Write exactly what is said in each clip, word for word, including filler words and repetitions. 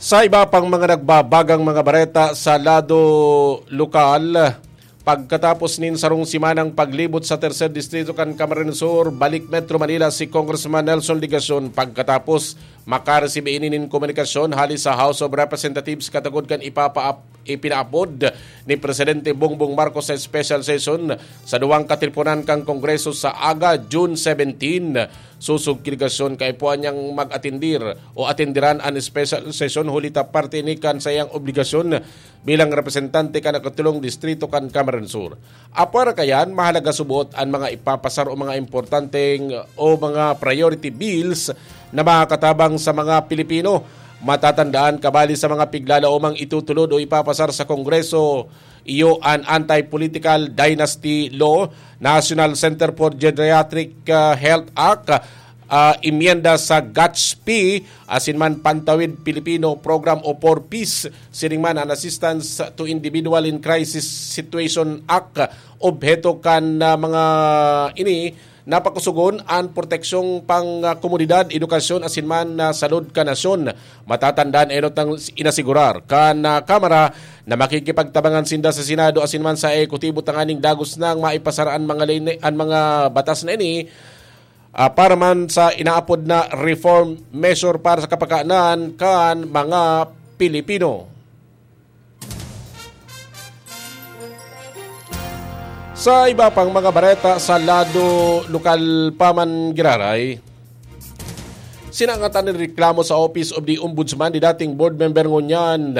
Sa iba pang mga nagbabagang mga bareta sa lado lokal, pagkatapos nin sarong simanang paglibot sa Tercer Distrito kan Camarines Sur, balik Metro Manila si Congressman Nelson Legacion pagkatapos makaresibi ini nin komunikasyon hali sa House of Representatives katagod kan ipapaap-, ipinaapod ni Presidente Bongbong Marcos sa special session sa duwang katiponan kan Kongreso sa aga, June seventeen. Sosog ki Legacion, kaipuhan niyang mag-atendir o atenderan an special session huli ta parte ini kan saiyang obligasyon bilang representante kan ikatulong distrito kan Camarines Sur. Apwera kayan, mahalaga suboot an mga ipapasar o mga importanteng o mga priority bills na makakatabang sa mga Pilipino. Matatandaan, kabali sa mga piglalaomang itutulod o ipapasar sa Kongreso, iyo an Anti-Political Dynasty Law, National Center for Geriatric, ah, Health Act, ah, imyenda sa GACP, asin man Pantawid Pilipino Program o four Ps, siring man an Assistance to Individual in Crisis Situation Act. Obheto kan, ah, mga ini napakusugon an proteksyong pang, ah, komunidad, edukasyon asin man, ah, salud kan nasyon. Matatandaan, enot nang inasigurar kan, ah, Kamara na makikipagtabangan sinda sa Senado asin man sa Ehekutibo tanganing dagos nang maipasar an mga line-, an mga batas na ini, ah, para man sa inaapod na reform measure para sa kapakanan kan mga Pilipino. Sa iba pang mga bareta sa lado lokal pa man giraray, sinangatan nin reklamo sa Office of the Ombudsman ni dating board member ngunyan,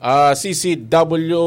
ah, C C W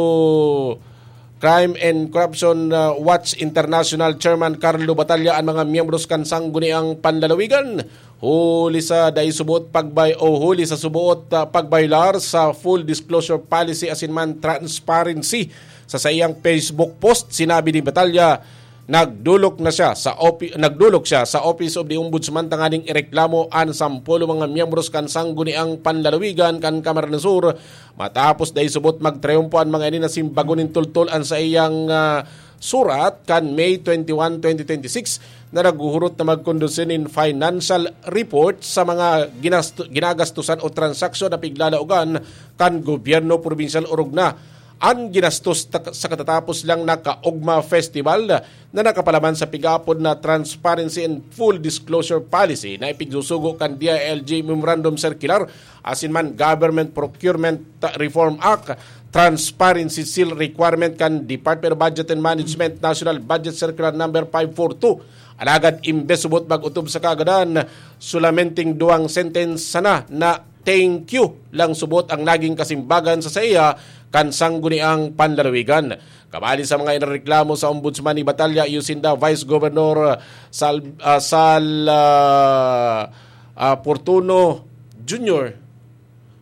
Crime and Corruption, ah, Watch International Chairman Carlo Batalla an mga miyembros kan Sangguniang Panlalawigan huli sa dai suboot pagbay-, o huli sa suboot, ah, pagbayolar sa full disclosure policy asin man transparency. Sa saiyang Facebook post, sinabi ni Batalla, nagdolok na siya sa opi-, nagdolok siya sa Office of the Ombudsman tanganing ireklamo an sampulo mga miyembros kan Sangguniang Panlalawigan kan Camarines Sur, matapos dai suboot magtriumpo an mga ini na simbagon nin tultol an saiyang, ah, surat kan May twenty-one, twenty twenty-six, na naghuhurot na magkondusi nin financial report sa mga ginasto-, ginagastusan o transaksyon na piglalaogan kan gobyerno probinsyal orog na an ginastos ta-, sa katatapos lang na Kaogma Festival na nakapalaman sa pig-aapod na Transparency and Full Disclosure Policy na ipigsusugo kan D I L G Memorandum Circular asin man Government Procurement Reform Act, Transparency Seal Requirement kan Department of Budget and Management, National Budget Circular Number five four two. Alagad imbes subot mag-otob sa kaagadan, solamenteng duwang sentence sana na thank you lang subot ang naging kasimbagan sa saiya kan Sangguniang Panlalawigan. Kabali sa mga inareklamo sa Ombudsman ni Batalla, iyo sinda Vice Governor Sal-, ah, Sal, ah, ah, Portuno Junior,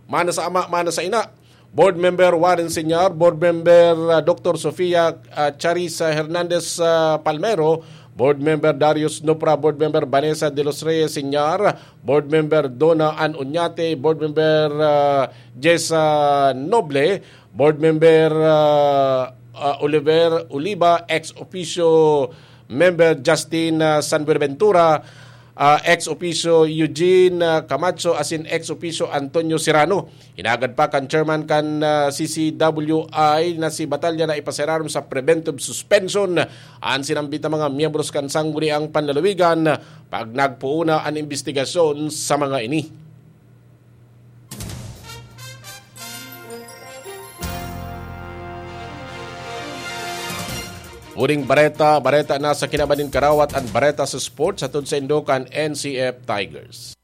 mana sa ama, mana sa ina, Board Member Warren Señor, Board Member, ah, Doctor Sofia, ah, Charissa Hernandez, ah, Palmero, Board Member Darius Nopra, Board Member Vanessa de los Reyes Señor, Board Member Donna Ann Oñate, Board Member, ah, Jessa Noble, Board Member, ah, ah, Oliver Oliva, ex officio Member Justin, ah, San Buenaventura, ah, ex officio Eugene, ah, Camacho, asin ex officio Antonio Serrano. Hinagad pa kan chairman kan, ah, C C W I na si Batalla na ipasirarom sa preventive suspension an sinambit na mga miyembros kan Sangguniang Panlalawigan pag nagpoon na an imbestigasyon sa mga ini. Huling bareta, bareta na sa kinaban nin karawat an bareta sa sports hatod sa indo kan N C F Tigers.